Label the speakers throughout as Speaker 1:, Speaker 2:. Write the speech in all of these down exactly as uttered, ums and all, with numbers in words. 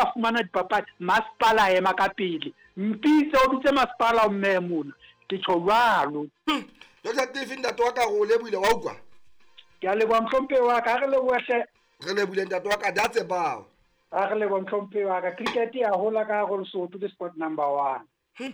Speaker 1: ba fumana dipapadi masepala a ema ka pele mpitse o bitse masepala o mmehe mona ke tjho jwalo.
Speaker 2: Doctor Cliff ntate wa ka re o lebohile wa utlwa.
Speaker 1: Ke a leboha mohlomphehi wa ka, ha re lebohe hle.
Speaker 2: Re lebohile ntate wa ka, that's about.
Speaker 1: Ha re leboha mohlomphehi wa ka, cricket ya hola ka hare ho Lesotho ke sport number one.
Speaker 2: Hmm.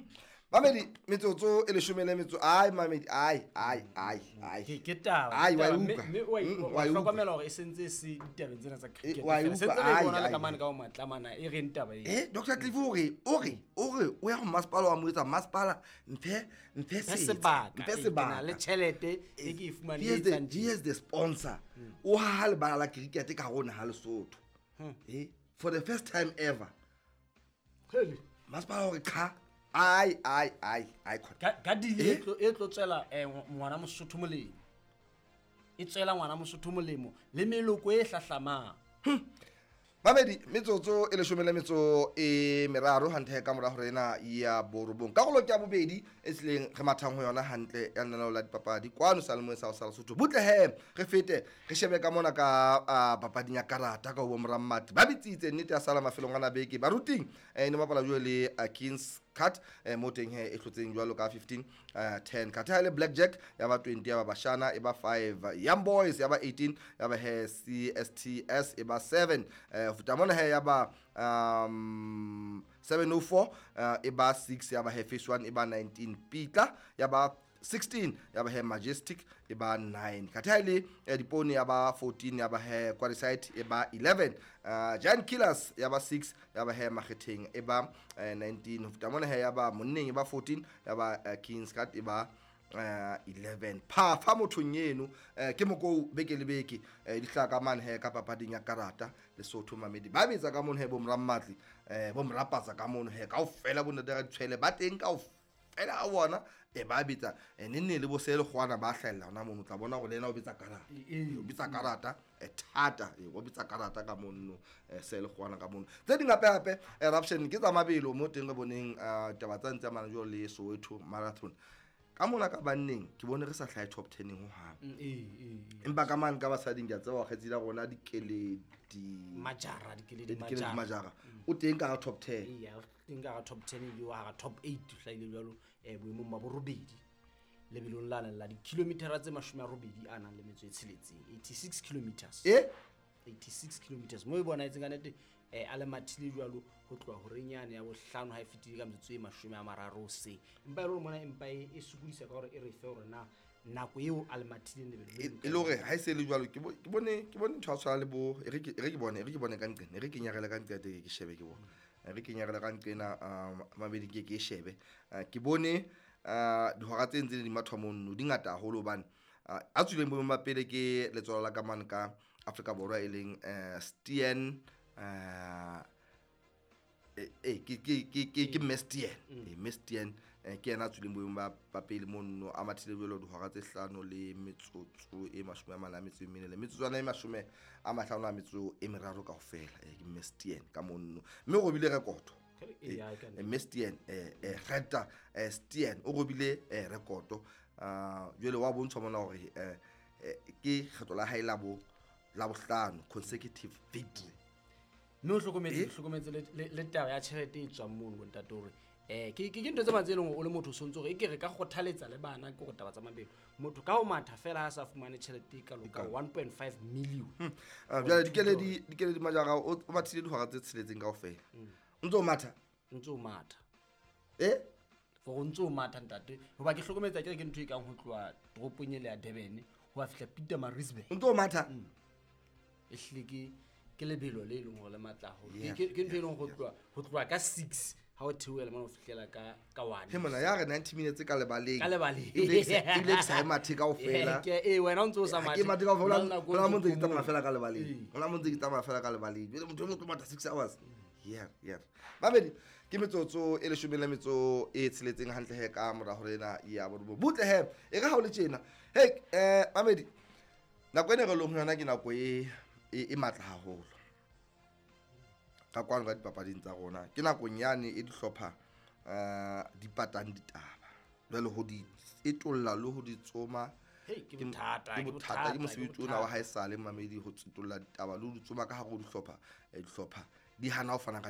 Speaker 2: Mamedi metsotso e leshome le metso ai mamedi ai ai ai ai
Speaker 3: ke ke taba
Speaker 2: ai wa
Speaker 3: mme
Speaker 2: utlwa
Speaker 3: mme wa
Speaker 2: Mm,
Speaker 3: wa
Speaker 2: wa utlwa.
Speaker 3: hlokomela hore e sentse e se ditabeng tsena tsa cricket
Speaker 2: wa
Speaker 3: fela.
Speaker 2: utlwa,
Speaker 3: Sentse re
Speaker 2: ai,
Speaker 3: bona le
Speaker 2: ai,
Speaker 3: ka
Speaker 2: ai.
Speaker 3: mane ka ho matlamana e reng taba e.
Speaker 2: Eh Doctor Cliff o re o re o re o ya ho masepala wa mo etsa masepala mphe mphe
Speaker 3: Mphe
Speaker 2: setsa,
Speaker 3: sebaka,
Speaker 2: mphe
Speaker 3: eh, ke na
Speaker 2: sebaka.
Speaker 3: le tjhelete e ke e fumaneng
Speaker 2: He is
Speaker 3: e
Speaker 2: the,
Speaker 3: etsang
Speaker 2: he is the sponsor. O haha lebala la cricket ka hare ho naha Lesotho.
Speaker 3: Hmm.
Speaker 2: Eh for the first time ever.
Speaker 3: Hele.
Speaker 2: Masepala o re qha ai ai ai ai khona.
Speaker 3: Ka ka deal e
Speaker 2: Eh?
Speaker 3: tlo e tlo tswela eh ngwana Mosotho molemo. E tswela ngwana Mosotho molemo le meloko e hlahlamang.
Speaker 2: Hmm. Mamedi metsotso e leshome le metso e meraro hantle ka mora hore ena ya borobong. Karolo ke ya bobedi e tsileng re mathang ho yona hantle ya lenaneo la dipapadi kwano Seyalemoyeng sa ho sa Lesotho. Butle he re fete re shebe ka mona ka, ah, papading ya karata ka ho bo Morammati. Ba bitsitse nnete ya sala mafelong ana beke baruting eh, ne bapala jwale le, ah, Kings Cut eh, mo teng he e hlotseng jwalo ka fifteen, eh, ten. Khatha ha le Blackjack ya ba twenty, ya ba Bashana e ba five, Young Boys ya ba eighteen, ya ba he C S T S e ba seven, eh, ho feta mona he ya ba, um, seven oh four, eh, e ba six, ya ba he Phase one e ba nineteen, Pitla ya ba sixteen, ya ba he Majestic e ba nine. Khatha ha le, eh, Dipone ya ba fourteen, ya ba he Quarryside e ba eleven, eh, Giant Killers ya ba six, ya ba he Makgetheng e ba, eh, nineteen. Ho feta mona he ya ba Monneng e ba fourteen, ya ba, eh, Kings Cut e ba, eh, eleven. Phafa mothong eno, eh, ke mokou beke le beke, eh, di hlaha ka mane he ka papading ya karata Lesotho mamedi. Ba betsa ka mono he bo Morammatli, eh, bo Morapatsa ka mono he kaofela bo ntate Raditshwele ba teng kaofela a bona, e ba betsa, e nenne le bo Selekgwana ba hlahella hona mono, o tla bona hore le yena o betsa karata.
Speaker 3: E, e.
Speaker 2: O betsa karata, e thata, e, o betsa karata ka mono, e, Selekgwana ka mono. Tse ding hape hape, eruption ke tsa mabelo mo teng re boneng, eh, taba tsa ntse amana jwalo le Soweto Marathon. Ka mona ka banneng ke bone re sa hlahe top ten ho hang.
Speaker 3: Mm, e, e, e.
Speaker 2: Empa ka mane ka basading ke a tseba kgetsi la rona Dikeledi
Speaker 3: Majara, Dikeledi
Speaker 2: Dikeledi
Speaker 3: Majara.
Speaker 2: Majara. O teng ka top ten.
Speaker 3: Ee, o teng ka top ten ebile o hara top eight o hlahile jwalo, eh, boemong ba borobedi. Lebelong la la dikilometera tse mashome a robedi a nang le metso e tsheletseng, eighty-six kilometers.
Speaker 2: E?
Speaker 3: eighty-six kilometers. Mo e bonahetseng ka nnete, eh, a le mathile jwalo ho tloha horeng yane ya bohlano ha e fetile ka metsotso e mashome a mararo hoseng. Empa e le hore mona empa e, e sokodisa ka hore e re fe hore na nako eo a le mathileng lebelo le
Speaker 2: E,
Speaker 3: le
Speaker 2: e le hore ha e se le jwalo, ke bo-, ke bone, ke bone ntho ya tshwana le bo, e re ke, e re ke bone, e re ke bone ka nqena, e re ke nyarele ka nqena teng, ke shebe ke bone. E re ke nyarele ka nqena, ah, mabedi ke, ke shebe. Ah, ke bone, ah, dihora tse ntseng di mathwa mono, di ngata haholo hobane, ah, a tswileng boemong ba pele ke letswalo la ka mane ka Afrika Borwa e leng, eh, Stien, eh, eh, eh, ke, ke, ke, ke, ke Mme Stien.
Speaker 3: Mm.
Speaker 2: Eh, Mme Stien, eh, ke yena a tswileng boemong ba, ba pele mono, a mathile jwalo dihora tse hlano le metsotso e mashome a mane a metso e mene le metsotswana e mashome a mahlano a metso e meraro kaofela. Eh, ke Mme Stien ka mono. Mme o robile rekoto.
Speaker 3: E, ya, e ka
Speaker 2: Eh, Mme Stien, eh, eh, Greta, eh, Stien, o robile, eh, rekoto. Ah, jwale wa bontshwa mona hore, eh, eh, ke kgetho la hae la bo, la bohlano consecutive victory.
Speaker 3: Mme o hlokometse,
Speaker 2: Eh?
Speaker 3: hlokometse le, le, le taba ya tjhelete e tswang mono, bontate, hore, eh, ke, ke, ke ntho tse mang tse leng hore o le motho o sontso hore e ke re ka kgothaletsa le bana ke hore taba tsa mabelo. Motho ka ho matha fela ha sa fumane tjhelete e kalo ka
Speaker 2: E kalo.
Speaker 3: one point five million.
Speaker 2: Hmm. Ah, jwale Dikeledi, Dikeledi Majara, o, o mathile dihora tse tsheletseng kaofela.
Speaker 3: Hmm.
Speaker 2: O ntso o matha?
Speaker 3: O ntso o matha.
Speaker 2: Eh?
Speaker 3: For o ntso o matha, ntate. Hoba ke hlokometse akere ke ntho e kang ho tloha toropong ele ya Durban ho ya fihla Pietermaritzburg.
Speaker 2: O ntso o matha?
Speaker 3: Hmm. Ehlile ke, ke lebelo le leng hore le matla haholo.
Speaker 2: Yeah,
Speaker 3: Ke, ke, ke ntho e
Speaker 2: yeah,
Speaker 3: leng ho
Speaker 2: yeah.
Speaker 3: tloha, ho tloha ka six ha o theohela mona ho fihlela ka, ka one.
Speaker 2: He mona, ya re ninety minutes ka lebaleng.
Speaker 3: Ka lebaleng.
Speaker 2: Ebile ke sa, ebile ke sa e mathe kaofela.
Speaker 3: Eh, ke, eh, wena o ntso o sa
Speaker 2: Ha ke
Speaker 3: mathe.
Speaker 2: mathe kaofela,
Speaker 3: Hona le nako
Speaker 2: hona
Speaker 3: o
Speaker 2: mo ntse ke
Speaker 3: ntso
Speaker 2: tsamaya
Speaker 3: phomole.
Speaker 2: fela ka lebaleng.
Speaker 3: Ee.
Speaker 2: Hona mo ntse ke tsamaya fela ka lebaleng. Jwale motho e mong o tlo matha six hours. Yeah, yeah. Mamedi, ke metsotso e leshome le metso e tsheletseng hantle he ka mora hore ena ya borobong. Butle he, e re ha o le tjena. Hey, eh, Mamedi, nako ena re leng ho yona ke nako e, e, e matla haholo. Ka kwano ka dipapading tsa rona. Ke nakong yane e dihlopha, eh, di patang ditaba. Jwale ho di etolla le ho di tsoma
Speaker 3: Hei, ke
Speaker 2: ke m-,
Speaker 3: bothata,
Speaker 2: ke
Speaker 3: ke
Speaker 2: bothata, ke
Speaker 3: bothata, ke
Speaker 2: mosebetsi ona wa
Speaker 3: bothata.
Speaker 2: haesale, Mamedi, ho tsetolla ditaba le ho di tsoma ka hare ho dihlopha, eh, dihlopha di hana ho fana ka